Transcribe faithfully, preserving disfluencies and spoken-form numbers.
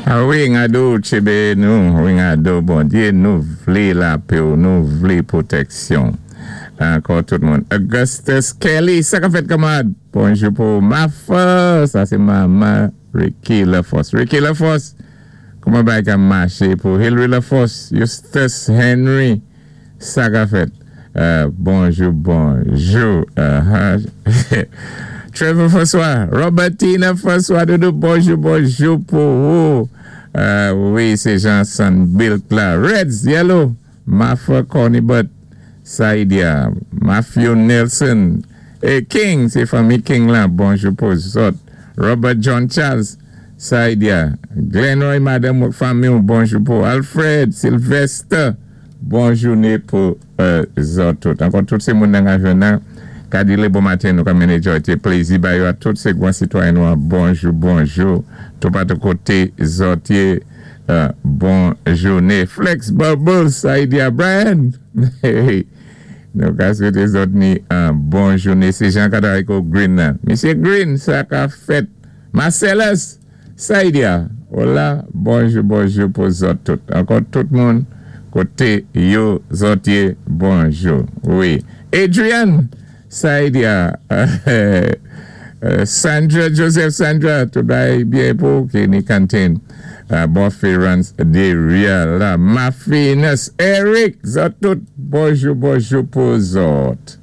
A wi, ngado tchébé nou, wi ngado Bondyé, nou vlé lapè, nou vlé pwotèksyon. Ankò tout moun. Augustus Kelly, sa ka fèt kanmarad? Bonjou pou Mafa, sa sé manman Ricky Laforce. Ricky Laforce, kouman bagay ka maché pou Hillary Laforce, Eustace Henry, sa ka fèt? Euh, bonjou, bonjou. Uh-huh. Trevor François, Robertina François, Doudou, bonjou, bonjou pou ou. Euh, wi, sé Jean-Son Bill la. Reds, Yellow, Mafa Cornibut, Saidia, Matthew Nelson, é King, sé fanmi King la, bonjou pou zòt. Robert John Charles, Saidia, Glenroy, madanm fanmi, bonjou pou Alfred, Sylvester, bonjouné pou euh, zòt tout. Ankò tout sé moun nan nan ka di lé bon maten nou ka mennen jòy plézi ba yo a tout sé gwan sitwayen nou bonjou bonjou toupatou koté zòt yé euh, bon jouné Flex Bubbles Saidia Brian nou ka swété zòt ni an bon jouné sé Jean Kadariko Green nan. Misyé Green sa ka fèt Marcellus Saidia hola bonjou bonjou pou zòt tout ankò tout moun koté yo zòt yé bonjou wi Adrian Saidia euh, Sandra Joseph Sandra tout bagay byen pou Kenny Cantin uh, Buffy Runs Deria la Mafinus Eric zòt tout bonjou bonjou pou zòt.